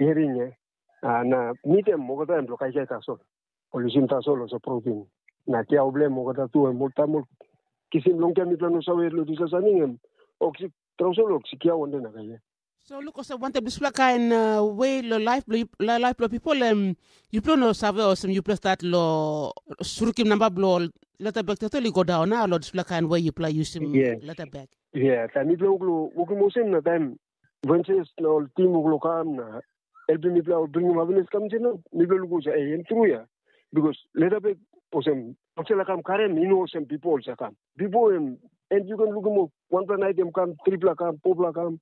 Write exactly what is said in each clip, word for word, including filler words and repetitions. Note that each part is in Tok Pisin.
Hering, eh? Ah, na mit em olgeta em bilong kaikai tasol. Ol yusim tasol olsem protein. Na kiau bilong em olgeta tu em ol taim ol kisim long taim mipela no save long dispela samting em oksi trausel oksi kiau wantaim na kaikai. So luk olsem wantaim dispela kain uh, we long laip bilong laip bilong pipel em yupela no save olsem yupela stat long surukim namba bilong leta bek total i go daun na long dispela kain we yupela yusim leta bek. Yeah, taim mipela wok long wokim olsem na taim Vences na ol tim wok long kam na helpim mipela ol bringim awenes kam insait na mipela lukim olsem ei em tru ya. Bikos leta bek olsem olsela kam karim i no olsem bipo olsem kam. Bipo em em yu ken lukim ol wanpela nait em kam tripela kam fopela kam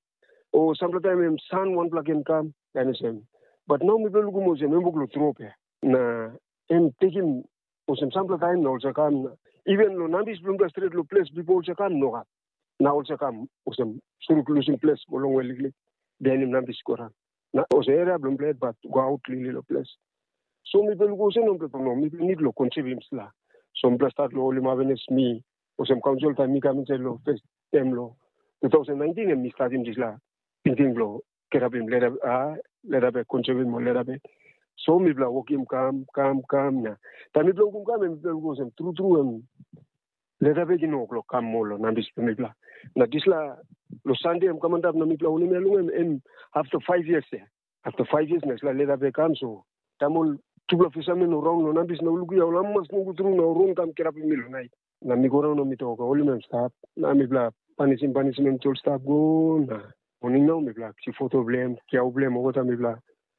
o sampela taim em san wanpela ken kam kain olsem. Bat nau mipela lukim olsem em wok long trop ya na em tekim olsem sampela taim na olsem kam na even long nambis bilong mipela stret long ples bipo olsem kam nogat. Na olsem kam olsem suruk lusim ples go longwe liklik bihainim nambis go ran. Na olsem eria bilong mipela yet bat go aut liklik long ples. So mipela lukim olsem no mipela no mipela nit long konsevim sla. So mipela stat long holim avenes mi olsem kaunsil taim mi kam insait long fes em long two thousand nineteen em mi statim dispela tingting bilong kirapim lera a lera bek konsevim ol lera bek. So mipela wokim kam kam kam na taim mipela wokim kam em mipela lukim olsem tru tru em lera bek i no wok long kam moa long nambis bilong mipela. Na dispela long Sande em kam antap na mipela wanem ya long em em after five years ya. After five years na dispela lera bek kam so taim ol tupela fisamen ol raun long nambis na ol lukia ol amamas nogut tru na ol ron kam kirapim mi long nait. Na mi go raun na mi tok holim em stap na mipela panisim panisim em ol stap go na moning nau mipela kisim foto bilong em kiau bilong em olgeta mipela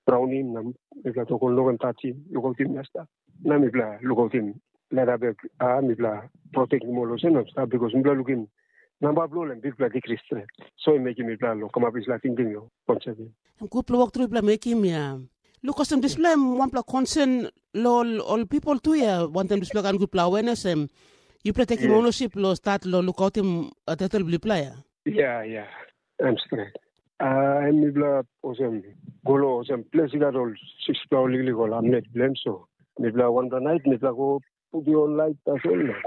raunim na mipela tok ol no ken tasim lukautim na stap. Na mipela lukautim lera bek a mipela protektim ol olsem na stap bikos mipela lukim namba bilong ol em bikpela dikris stret. So em mekim mipela long kamap dispela tingting long konsepim. Em gutpela wok tru yupela mekim ya. Luk olsem dispela em wanpela konsen long ol, ol pipel tu ya wantaim dispela kain gutpela awenes em yupela tekim onosip long stat long lukautim uh, tetel bilipela ya. Ya, ya, em stret. Uh, em mipela olsem go long olsem ples i gat ol sikspela ol liklik ol amlet bilong em so mipela wanpela nait mipela go putim ol lait tasol na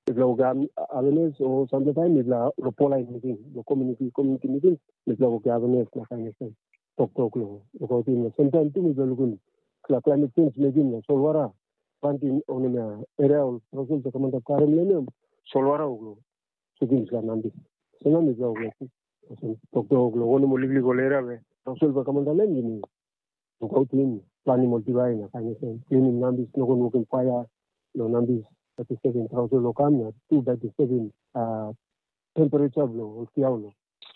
mipela wokim avenes o sampela taim mipela long polain miting long komuniti komuniti miting mipela wokim avenes na kain olsem toktok long lukautim na semtaim tu mipela lukim dispela klaimet sens mekim na solwara planti onem ya eria ol rosel ta kamantap karim long em solwara wok long sutim dispela nambis. So na mipela wok long olsem toktok long wanem ol liklik ol eria we rosel bai kamantap long em yumi lukautim, planim ol diwai na kain olsem, klinim nambis, no ken wokim paia long nambis, bai disturbim trausel long kam na tu bai disturbim temperature bilong ol kiau lo.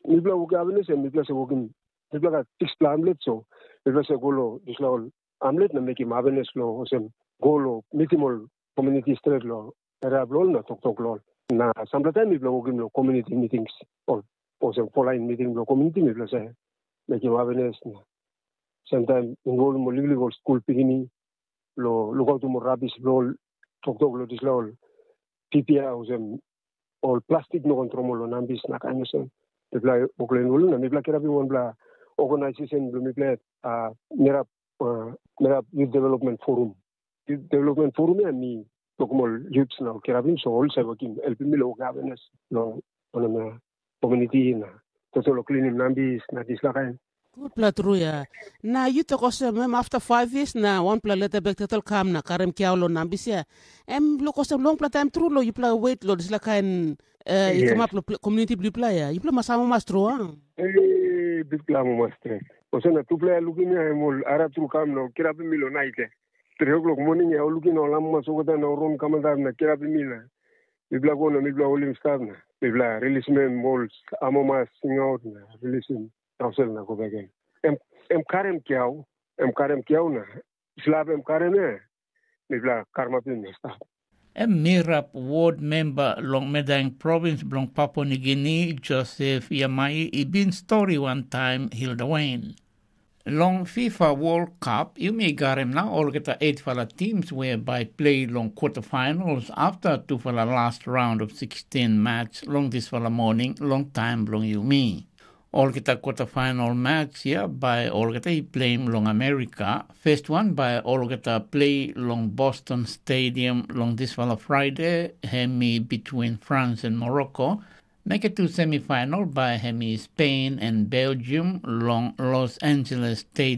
Mipela wokim avenes em mipela se wokim mipela gat sikspela amlet so mipela se go long dispela ol amlet na mekim avenes long olsem go long mitim ol komuniti stret long eria bilong ol na toktok long ol. Na sampela taim mipela wokim long komuniti mitings ol olsem folain miting bilong komuniti mipela se mekim avenes na semtaim involvim ol liklik ol skul pikinini long lukautim ol rabis bilong ol toktok long dispela ol pipia olsem ol plastik no ken tromoi long nambis na kain olsem. Mipela wok long involvim na mipela kirapim wanpela organisasen bilong mipela uh, Mirap uh, Mirap Youth Development Forum. Youth Development Forum ya mi tokim ol youths na ol kirapim so ol save wokim helpim mi long wokim awareness long wanem ya community na total long klinim nambis na dispela kain. Gutpela tru ya. Na yu tok olsem em afta five years na wanpela leta bek total kam na karim kiau long nambis ya. Em luk olsem longpela taim tru long yupela wet long dispela kain uh, i kamap long komuniti bilong yupela ya. Yupela mas amamas tru a? Bikpela amamas stret. Olsem na tupela ya lukim ya em ol arap tru kam na ol kirapim mi long nait ya. Tri o'clock moning ya ol lukim na ol amamas olgeta na ol ron kamantap na kirapim mi na mipela go na mipela holim stap na mipela rilisim em ol amamas singaut na rilisim rausel na go bek em. Em, em karim kiau, em karim kiau na slap em karim ya, mipela karamapim na stap. Em Mirap ward memba long Medaeng provins bilong Papua Nigini, Josef Yamai, i bin stori wantaim Hilda Wain. Long FIFA World Cup, yumi garim na olgeta eightfala teams we bai play long quarterfinals after tufala last round of sixteen match long dispela morning long taim bilong yumi. Olgeta quarterfinal match ya bai olgeta i pleim long Amerika. First one bai olgeta play long Boston Stadium long dispela Friday, hemi between France and Morocco. Make it to semifinal by hemi Spain and Belgium long Los Angeles Stadium.